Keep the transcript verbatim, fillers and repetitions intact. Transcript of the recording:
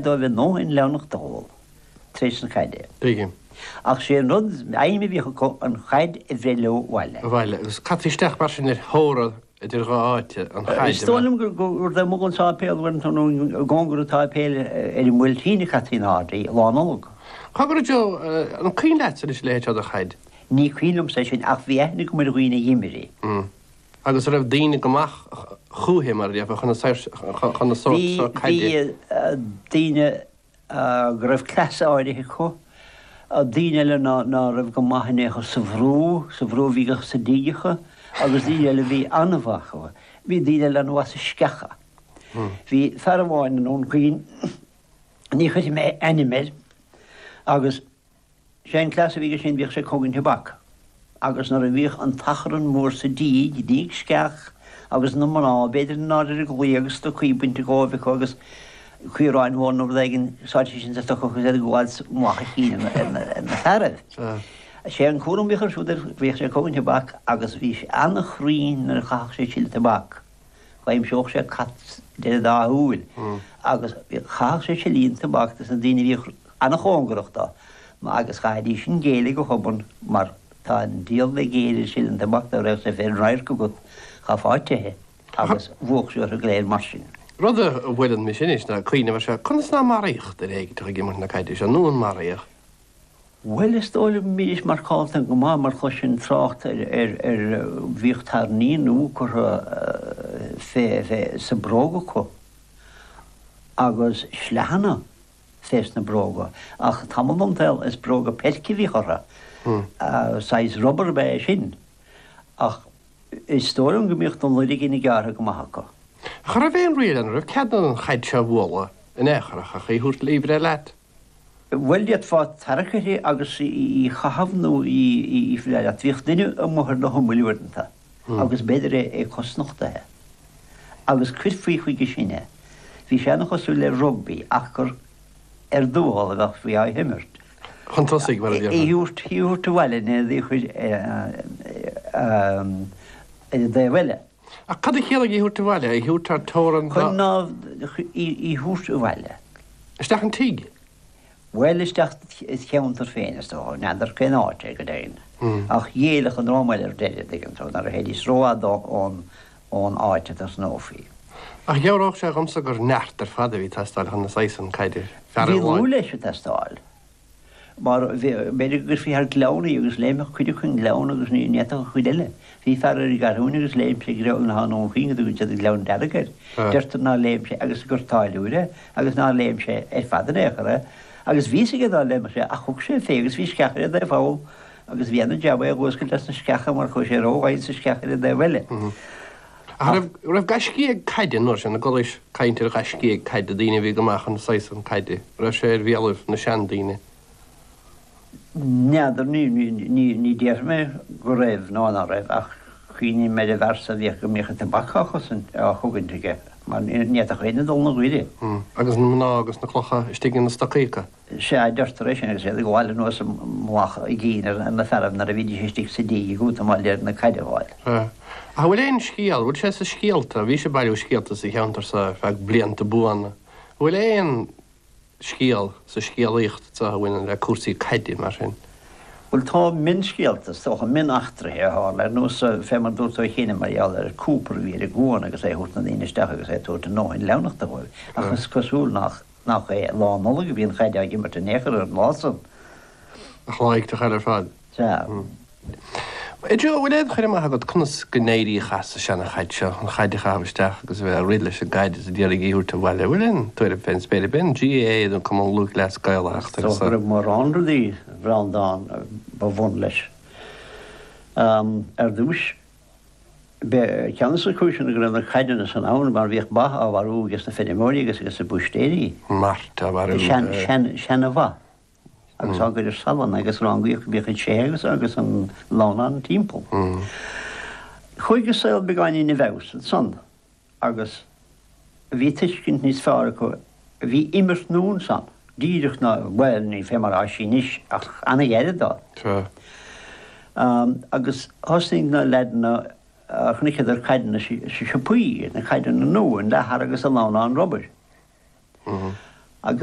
dóibh a ndóthain leamhnachta a ól tar éis na caide. Tuigim. Ach sé an rud, aidhm a bhíodh acu an chaid a bhreith leo abhaile. Abhaile. Agus caití isteach mar sin ar theora idir dhá áit an chaid, Is dóigh liom gur taobh amuigh den sáipéal uaireanta nó i gcóngar an tsáipéil ar an mBuailtín a chaití in airde í, Lá Nollag. Cogar a Joe, an cuimhin leatsa anois a leithéid seo de chaid? Ní cuimhin liomsa é sin ach bhí aithne agam ar dhaoine a d'imir í. Agus an raibh daoine go maith chúithi, mar a déarfá, chun chun na sórt seo caide? Bhí daoine go raibh cleas áirithe acu, daoine eile ná ná raibh go maith in aon chor sa bhrú, sa bhrú a bhí sa dígeacha, agus daoine eile a bhí an-mhaith acu. Bhí daoine eile an-mhaith sa sceacha. Bhí fear amháin i nDún Chaoin, ní chuirfidh mé ainm air, agus sé an cleas a bhí aige sin, bhíodh sé ag cogaint tobac. Agus nuair a bhíodh an t-achrann mór sa díg, díg sceach, agus na mná, b'fhéidir, in airde ar an gclaí agus stocaí bainte dhóibh acu agus caoráin mhór nó rud éigin sáite sin sa stoca acu agus iad ag gabháil mullach a chinn ar na fearaibh. Sé an cúram a bhíodh air siúd air, bhíodh sé ag cogaint tobac agus bhí sé an-chruinn nuair a chaitheadh sé sileadh tobac. D'aimseodh sé cat idir an dá shúil agus chaitheadh sé silín tobac dos na daoine a bhíodh an-chóngarach dó agus chaithfidís sin géilleadh go hobann mar tá an diabhal le géilleadh ar sileadh an tobac dá raibh sé fén radharc agat chaithfeá teitheadh agus bhuadh sé orthu go léir mar sin. Rud a bhuaileann mise anois ná cuimhneamh ar seo, conas ná maraíodh duine éigin ag imirt na caide seo nó an maraíodh? Bhuel, is dóigh liom go mbídís marcálta go maith mar chloisinn trácht ar ar ar bhíodh tairní nua curtha fé fé sa bróg acu agus sleaghanna fés na bróga ach tamall den tsaol is bróga peirce a bhíodh orthu, saghas rubar ab ea é sin ach is dóigh liom go mbíodh na loirgní gearrtha go maith acu. Ach an raibh aon riail ann, an raibh cead an chaid seo a bhualadh in aon chor ach í a thabhairt í a bhreith leat? Bhuel, d'fhéadfá tarrac uirthi agus í a chaitheamh nó í a bhreith leat. Bhíodh duine amuigh ar na humail uaireanta agus b'fhéidir é cosnochtaithe. Agus cuirfí chuige sin é. Bhí sé ana-chosúil le rugbaí ach gur ar dtuathal a bheifí á himirt. Chun tosaigh, mar a déarfá. Í a thabhairt abhaile nó í a chur ar an dtaobh eile. Ach cad a chiallaigh í a thabhairt abhaile? Í a thabhairt thar teorainn Chun ná í a thabhairt abhaile. Isteach an tigh? Bhuel, isteach sa cheantar féin, is dócha. N'fheadar cén áit é, go deimhin. Ach ghéillfeadh an dream eile ar deireadh, an dtuigeann tú, nuair a théidís rófhada ón ón áit a dtosnófaí. Ach dhealródh sé dhomsa gur neart ar fad a bhí ag teastáil chun na saghas san caide, fear Bhí amháin. lúth leis ag teastáil. Mar b'fhéidir go gcuirfí thar gleann í agus léimfeadh cuid acu an gleann agus ní fhéadfadh an chuid eile. Bhí fear ar an gCeathrúin agus léim sé gleann i nDún Chaoin go dtugann siad an Gleann Dearg air. Deirtear nár léim sé agus gur táilliúir é agus nár léim sé ar fad in aon chor é agus bhí fhios aige dá léimfeadh sé ach thug sé fé agus bhí sceach ar an dtaobh thall agus bhí ana-jab é a dh'fhuascailt as na sceacha mar chuaigh sé ródhomhain sa sceach ar an dtaobh eile. Ach an raibh gaiscígh caide an uair sin, an gcualaís caint ar ghaiscígh caide, daoine a bhí go maith chun saghas san caide, an raibh sé ar bhéalaibh na seandaoine? N'fheadar, ní déarfaidh mé go raibh nó ná raibh ach cuimhním ar an bhfear so a bhíodh go mbíodh an tobac á chosaint, á chogaint aige mar ní fhéadfadh éinne dul 'na ghaire. Agus na mná agus na clocha istigh ina stocaí acu. Sea, deirtear é sin agus iad ag gabháil anuas i mullach a gcinn ar na fearaibh nuair a bhídís istigh sa díg ag útamáil ar na caid a fháil. Sea. Ach an bhfuil aon scéal, an bhfuil sé sa scéalta, bhís ag bailiú scéalta sa cheantar so ar feadh blianta buana, an bhfuil aon scéal sa scéalaíocht so a bhaineann le cúrsaí caide mar sin? Bhuel, tá mionscéalta, is dócha, mioneachtraithe a tharla, ar nós fé mar dúirt tú cheana mar gheall ar Cooper a bhí ar an gcuan agus é ag thabhairt na ndaoine isteach agus é ag tabhairt a ndóthain leamhnachta dhóibh. Ach is cosúil nach nach é Lá Nollag a bhí an chaid á imirt in aon chor ar an lá san. Ach lá éigteach eile ar fad. Sea. A Joe, an bhfuil aon chur amach agat conas go n-éiríodh as an seana-chaid seo, an chaid a chaitheamh isteach agus a bheith ag rith leis an gcaid is ag iarraidh í a thabhairt abhaile? An bhfuil aon tuairim fén spéir ar bith? An GAA nó Cumann Lúthchleas Gael a Is dócha go raibh mórán rudaí, a Bhreandáin, ba bhun leis. Ar dtús, b'é ceann de na cúiseanna go raibh na caideanna san ann mar bhíodh ba á mharú ages na feirmeoirí agus ages na búistéirí. Mairt á mharú. Sean, sean, seana-bha. agus á gcur ar salann agus rangaíodh go mbíodh an tseithe agus agus an lamhnán timpeall. Chuaigh an saol beagáinín i bhfeabhas ansan agus bhí tuiscint níos fearr acu, bhí imirt nua ansan, díreach ná, bhuel, ní fé mar atá sí anois ach ana-ghairid dó. Agus thosnaigh na leaideanna, chonaiceadar caideanna sa siopaí, na caideanna nua, an leathar agus an lamhnán rubair. Agus